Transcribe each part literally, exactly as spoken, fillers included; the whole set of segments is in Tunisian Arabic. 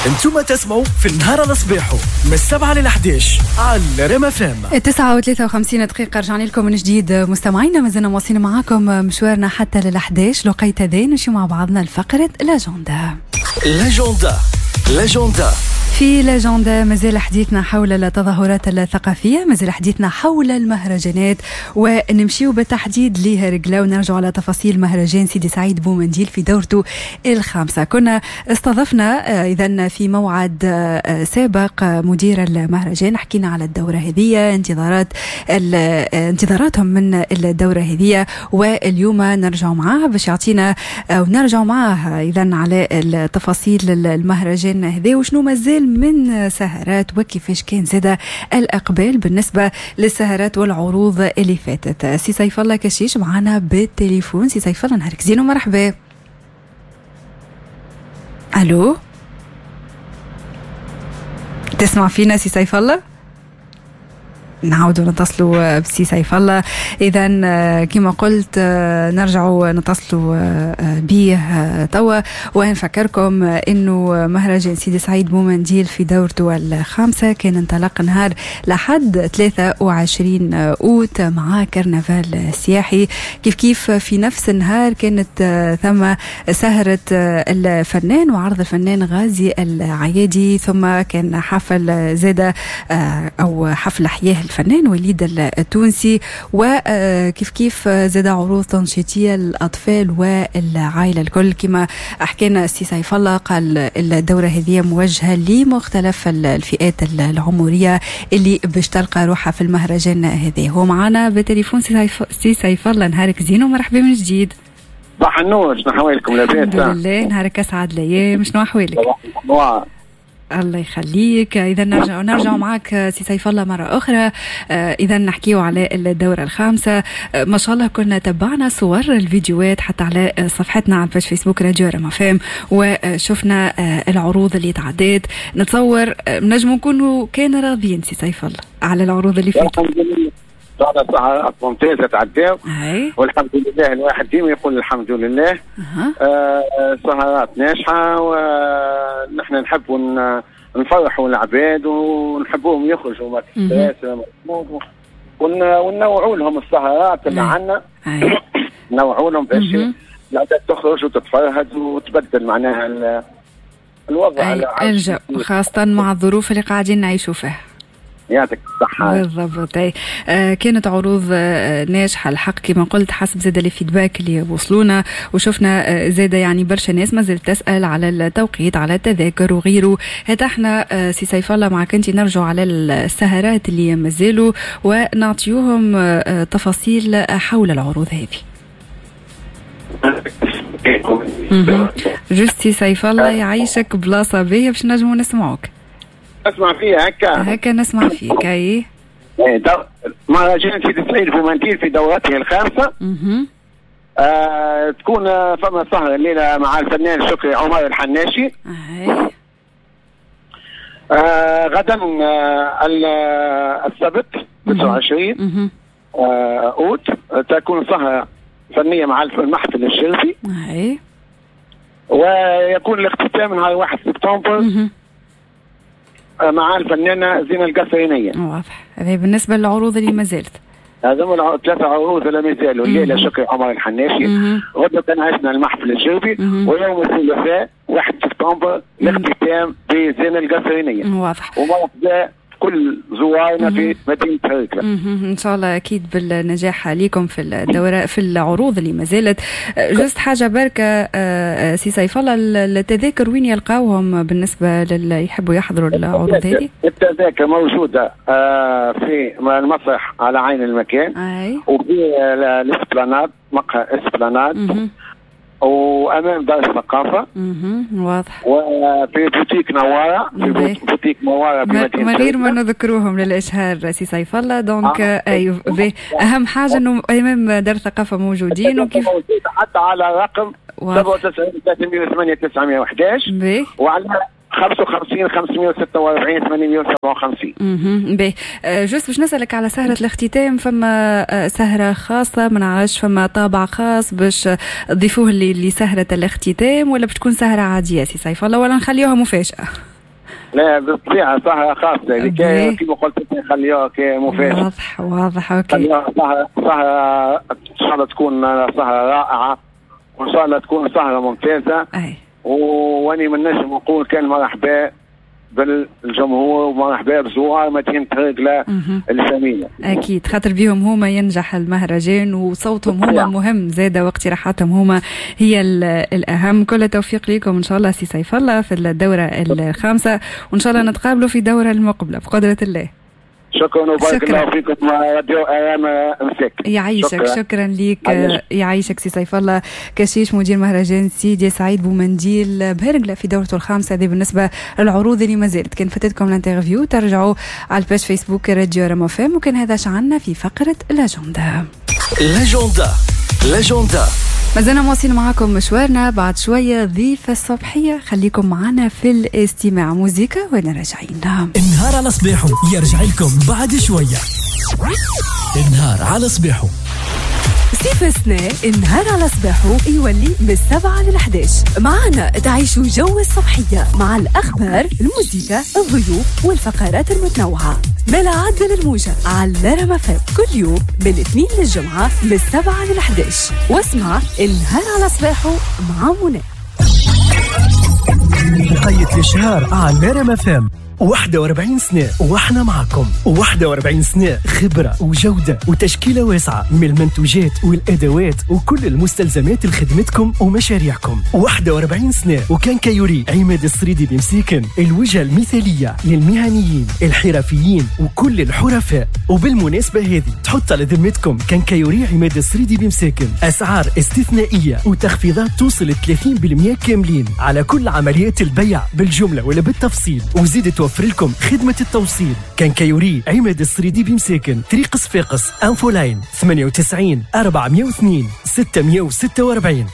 انتم تسمعوا في النهار على صباحو من السبعة لل إحداش على ريم اف ام. تسعة وثلاثة وخمسين دقيقة، رجعنا لكم من جديد مستمعينا، مازلنا مواصلين معاكم مشوارنا حتى لل إحداش. لقيت هذا نمشي مع بعضنا لفقرة l'agenda. l'agenda l'agenda في l'agenda مازال حديثنا حول التظاهرات الثقافية، مازال حديثنا حول المهرجانات، ونمشيو بالتحديد لهرقلة ونرجع على تفاصيل مهرجان سيدي سعيد بومنديل في دورته الخامسة. كنا استضفنا إذن في موعد سابق مدير المهرجان، حكينا على الدورة هذه، انتظارات انتظاراتهم من الدورة هذه، واليوم نرجع معاه باش يعطينا ونرجع معاه إذن على التفاصيل المهرجان هذا وشنو مازال من سهرات وكيفاش كان زاد الأقبال بالنسبة للسهرات والعروض اللي فاتت. سي سيف الله كشيش معنا بالتليفون. سي سيف الله نهارك زين ومرحبا. ألو، تسمع فينا سي سيف الله؟ نعاودوا نتصلوا بسي سيف الله. اذا كما قلت نرجعوا نتصلوا به توا، ونفكركم انه مهرجان سيدي سعيد بومنديل في دورته الخامسة كان انطلق نهار لحد ثلاثة وعشرين اوت مع كرنفال سياحي. كيف كيف في نفس النهار كانت ثم سهره الفنان وعرض الفنان غازي العيادي، ثم كان حفل زاده او حفل حياة الفنان وليد التونسي، وكيف كيف زاد عروض تنشيطيه للاطفال والعائلة الكل. كما حكينا السي سيف الله قال الدورة هذه موجهة لمختلف الفئات العمرية اللي باش تلقى روحها في المهرجان هذا. هو معنا بالتليفون سي سيف الله، نهارك زين ومرحبا من جديد. صباح النور، شنو احوالكم؟ لاباس؟ الحمد لله، نهارك اسعد الايام، شنو احوالك؟ الله يخليك. اذا نرجع نرجع معك سي سيف الله مرة اخرى. اذا نحكيو على الدورة الخامسة. ما شاء الله كنا تبعنا صور الفيديوهات حتى على صفحتنا على ال page فيسبوك راديو رما فام، وشفنا العروض اللي تعدات. نتصور نجم نكونوا كان راضيين سي سيف الله على العروض اللي فاتت. الحمد لله سهرات ممتازة تعداو، والحمد لله الواحد ديما يقول الحمد لله. أه. آه سهرات ناجحة، ونحن نحبوا نفرحوا العباد ونحبوهم يخرجوا من ال stress، ونوعوا لهم السهرات اللي عندنا، نوعوا لهم باش العباد تخرج وتتفرهد وتبدل معناها الوضع الجو، خاصة مع الظروف اللي قاعدين نعيشوا فيها. يعطيك الصحة. بالضبط. آه كانت عروض آه ناجحة الحق كما قلت، حسب زاد les feedbacks اللي وصلونا، وشفنا آه زاد يعني برشا ناس ما زالت تسأل على التوقيت، على التذاكر وغيره. هذا احنا آه سي سيف الله معك انت نرجع على السهرات اللي مازالوا ونعطيوهم آه تفاصيل حول العروض هذه. juste سي سيف الله يعيشك بلاصة باهية باش نجموا نسمعوك. اسمع فيها هكا هكا نسمع فيك. اي مهرجان سيدي سعيد بومنديل في دورته الخامسة. آه، تكون فما سهرة الليلة مع الفنان شكري عمر الحناشي. آه، غدا آه، السبت تسعة وعشرين آه، أوت تكون سهرة فنية مع المحفل الشرفي. ويكون الاختتام نهار واحد سبتمبر مع الفنانة زينة القصرينية. واضح. هذا بالنسبة للعروض اللي ما زالت. هذوما ثلاثة عروض اللي ما زالوا، الليلة شكري عمر الحناشي، غدا كان عشنا المحفل الجوبي، ويوم الثلاثاء واحد سبتمبر الاختتام بزينة القصرينية. واضح. ومرحبا كل زوارنا في مدينة هرقلة. إن شاء الله أكيد بالنجاح ليكم في الدورة في العروض اللي ما زالت. juste حاجة بركة سي سيف الله، التذاكر وين يلقاوهم بالنسبة للي يحبوا يحضروا العروض هذه؟ التذاكر موجودة في المسرح على عين المكان، أي. وفي ال Esplanade، مقهى Esplanade، وامام دار الثقافة. واضح. وفي بوتيك نواره، في بوتيك نواره بمدينة من غير ما نذكروهم للاشهار سي سيف الله. donc آه. أيوه. اهم حاجة انه امام دار الثقافة موجودين، وكيف حتى على رقم سبعة وتسعين ثلاثمية وثمانية تسعمية وأحد عشر وعلى خمسة وخمسين خمسمية وستة وأربعين ثمانمية وسبعة وخمسين. اها باهي. juste باش نسألك على سهرة الاختتام، فما سهرة خاصة ما نعرفش، فما طابع خاص باش تضيفوه لسهرة الاختتام ولا باش تكون سهرة عادية سي سيف الله، ولا نخليوها مفاجأة؟ لا بالطبيعة سهرة خاصة كما قلت نخليوها مفاجأة. واضح واضح OK. خليوها سهرة سهرة إن شاء الله تكون سهرة رائعة، وإن شاء الله تكون سهرة ممتازة. أي. واني من نجم نقول كان مرحبا بالجمهور ومرحبا بزوار مدينة هرقلة الجميلة. أكيد خاطر بيهم هما ينجح المهرجان، وصوتهم هما مهم زادة، واقتراحاتهم هما هي الأهم. كل التوفيق لكم إن شاء الله سي سيف الله في الدورة الخامسة، وإن شاء الله نتقابلوا في الدورة المقبلة بقدرة الله. شكرا وبارك الله فيكم راديو ارام مساك. يعيشك. شكرا, شكرا ليك. يعيشك سي سيف الله كشيش مدير مهرجان سيدي سعيد بومنديل بهرقلة في دورته الخامسة. هذه بالنسبة للعروض اللي ما زالت، كان فاتتكم ال interview ترجعوا على ال page فيسبوك راديو ارام فام. وكان هذا شعلنا في فقره l'agenda. l'agenda l'agenda مازلنا مواصلين معاكم مشوارنا، بعد شوية ضيفة الصبحية، خليكم معنا في الاستماع. موزيكا وانا راجعين. النهار على صباحه يرجع لكم بعد شوية. النهار على صباحه سيف السنة، النهار على صباحه يولي من السبعة للحداش. معنا تعيشوا جو الصبحية مع الأخبار، الموسيقى، الضيوف والفقرات المتنوعة. بلا عدل الموجة على رما فم كل يوم من الاثنين للجمعة من السبعة للحداش. واسمع النهار على صباحه مع منى. بقية الشهر على رما فم. واحد وأربعين سنة واحنا معكم، واحد وأربعين سنة خبرة وجودة وتشكيلة واسعة من المنتوجات والأدوات وكل المستلزمات لخدمتكم ومشاريعكم. واحد وأربعين سنة و quincaillerie عماد السريدي بمسيكن، الوجهة المثالية للمهنيين الحرفيين وكل الحرفاء. وبالمناسبة هذه تحط على ذمتكم quincaillerie عماد السريدي بمساكن أسعار استثنائية وتخفيضات توصل ثلاثين بالمئة كاملين على كل عمليات البيع بالجملة ولا بالتفصيل، وزيد توفر لكم خدمة التوصيل. quincaillerie عماد السريدي بمساكن، طريق صفاقس، infoline ثمانية وتسعين أربعمية واثنين ستمية وستة وأربعين.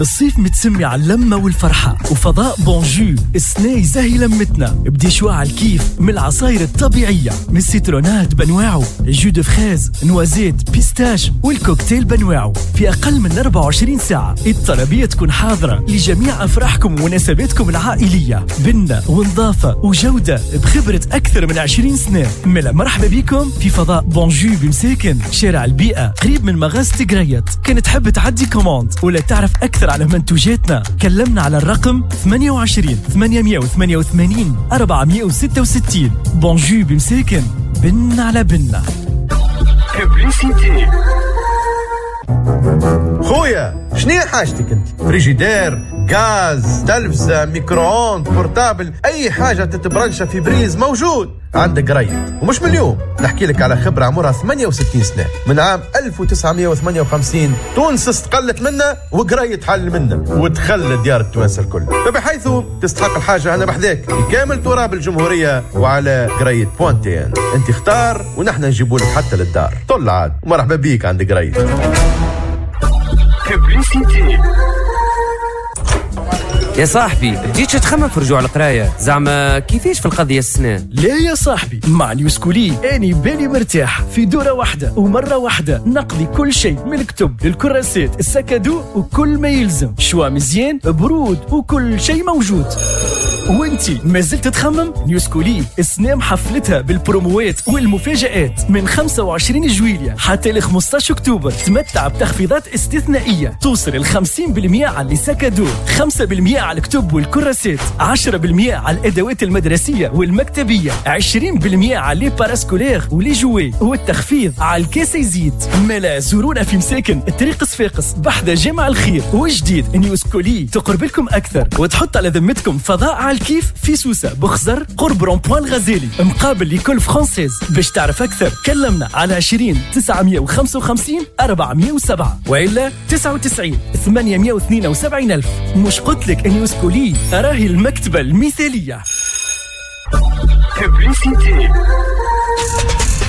الصيف متسمي على اللمة والفرحة وفضاء بونجو السنة يزهي لمتنا بدي شوا على الكيف من العصاير الطبيعية، من ال citronnade بنواعه، jus de fraise، noisette، pistache والكوكتيل بنواعه في أقل من أربعة وعشرين ساعة. الطلبية تكون حاضرة لجميع أفراحكم ومناسباتكم العائلية، بنة ونظافة وجودة بخبرة أكثر من عشرين سنة. ملا مرحبا بكم في فضاء بونجو بمساكن، شارع البيئة، قريب من مغازة قريت. كانت تحب تعدي commande ولا تعرف أكثر على منتوجاتنا كلمنا على الرقم ثمانية وعشرين ثمانمية وثمانية وثمانين أربعمية وستة وستين. بونجو بمساكن، بن على بنة. خويا شنو حاجتك انت؟ فريجيدير، غاز، تلفزة، micro-ondes، portable، اي حاجة تتبرنشة في prise موجود عندك قريت. ومش من اليوم نحكي لك على خبرة عمرها ثمانية وستين سنة، من عام ألف وتسعمية وثمانية وخمسين تونس استقلت منا وقريت حل منا ودخل ديار التوانسة الكل، فبحيث تستحق الحاجة أنا بحذاك في كامل تراب الجمهورية وعلى قريت بوانتين. انت اختار ونحن نجيبوا لك حتى للدار. طل عاد ومرحبا بيك عند قريت. يا صاحبي بديتش تخمم في رجوع القراية، زعما كيفاش في القضية السنة؟ لا يا صاحبي، مع نيوسكولي اني بالي مرتاح، في دورة واحدة ومرة واحدة نقضي كل شيء من الكتب للكراسات ال sac à dos وكل ما يلزم، choix مزيان برود وكل شيء موجود. وانتي ما زلت تخمم؟ نيوسكولي السنة محفلتها بالبروموات والمفاجآت من خمسة وعشرين جويلية حتى ل خمسة عشر أكتوبر. تمتع بتخفيضات استثنائية توصل ل خمسين بالمئة على les sacs à dos، خمسة بالمئة على الكتب والكراسات، عشرة بالمئة على الأدوات المدرسية والمكتبية، عشرين بالمئة على les parascolaires و les jouets، والتخفيض على الكاس يزيد. ملا زورونا في مساكن طريق صفاقس بحذا جامع الخير. وجديد نيوسكولي تقرب لكم أكثر وتحط على ذمتكم فضاء على الكيف في سوسة بخزر قرب rond-point الغزالي مقابل l'école française. باش تعرف أكثر كلمنا على عشرين تسعمية وخمسة وخمسين أربعمية وسبعة وإلا تسعة وتسعين ثمانمية واثنين وسبعين ألف. مش قلتلك نيوسكولي راهي المكتبة المثالية.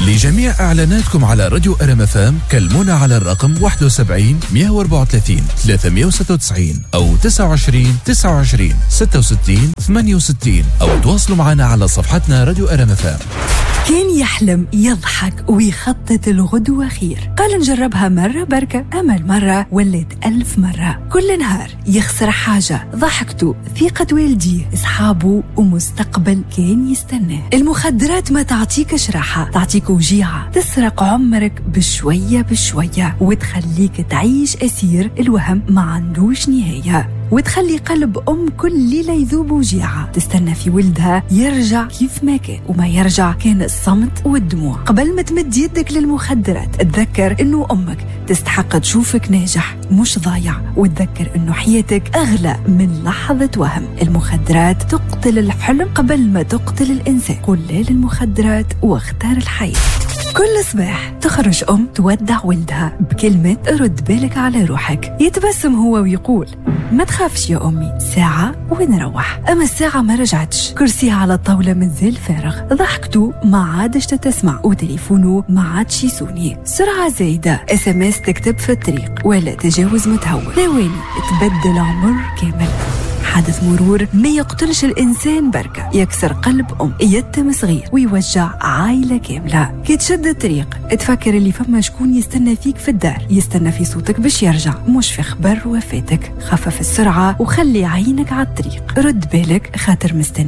لجميع اعلاناتكم على راديو R M F M كلمونا على الرقم واحد وسبعين مية وأربعة وثلاثين ثلاثمية وستة وتسعين او تسعة وعشرين تسعة وعشرين ستة وستين ثمانية وستين او تواصلوا معنا على صفحتنا راديو R M F M. كان يحلم، يضحك ويخطط الغدوة خير. قال نجربها مرة بركة، أما المرة ولت ألف مرة. كل نهار يخسر حاجة، ضحكته، ثقة والديه، أصحابه، ومستقبل كان يستناه. المخدرات ما تعطيكش راحة، تعطيك وجيعة، تسرق عمرك بشوية بشوية وتخليك تعيش أسير الوهم ما عندوش نهاية، وتخلي قلب أم كل ليلة يذوب وجيعة، تستنى في ولدها يرجع كيف ما كان، وما يرجع كان الصمت والدموع. قبل ما تمد يدك للمخدرات تذكر أنه أمك تستحق تشوفك ناجح مش ضايع، وتذكر أنه حياتك أغلى من لحظة وهم. المخدرات تقتل الحلم قبل ما تقتل الإنسان. قل لا للمخدرات واختار الحياة. كل صباح تخرج أم تودع ولدها بكلمة رد بالك على روحك، يتبسم هو ويقول ما تخافش يا أمي، ساعة ونروح. أما الساعة ما رجعتش، كرسيها على الطاولة مازال فارغ، ضحكته ما عادش تتسمع، وتليفونه ما عادش يسوني. سرعة زايدة، SMS تكتب في الطريق، ولا تجاوز متهور، ثواني تبدل عمر كامل. حادث مرور ما يقتلش الإنسان بركة، يكسر قلب أم، يتم صغير، ويوجع عائلة كاملة. كي تشد الطريق تفكر اللي فما شكون يستنى فيك في الدار، يستنى في صوتك باش يرجع، مش في خبر وفاتك. خفف السرعة وخلي عينك على الطريق، رد بالك خاطر مستني.